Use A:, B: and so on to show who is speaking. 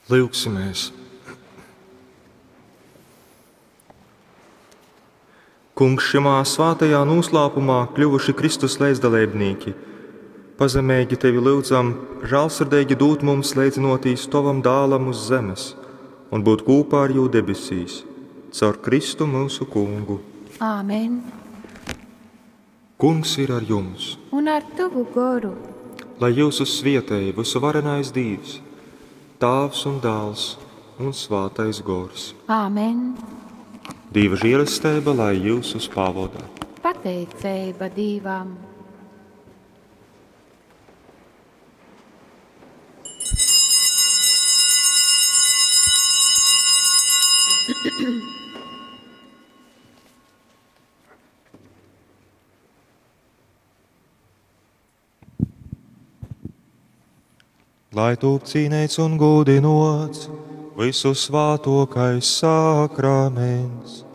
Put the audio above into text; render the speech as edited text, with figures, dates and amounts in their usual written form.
A: Lyugsimies! Kungs, šymā svātajā nūslāpumā kļuvuši Kristus leidzdaleibnīki, pazemeigi Tevi lyudzam žālsirdeigi dūt mums leidzynōtīs Tovam Dālam uz zemes un būt kūpā ar Jū debesīs, caur Kristu myusu Kungu.
B: Āmen.
A: Kungs ir ar jums!
B: Un ar tavu goru.
A: Lai jyusus svietej vysuvarenais Dīvs, Tāvs un Dāls un Svātais Gors.
B: Āmen.
A: Dīva žēlesteiba lai jyusus pavoda.
B: Pateiceiba Dīvam.
A: Lai tūp cīneits un gūdinots visu svātokais sakraments.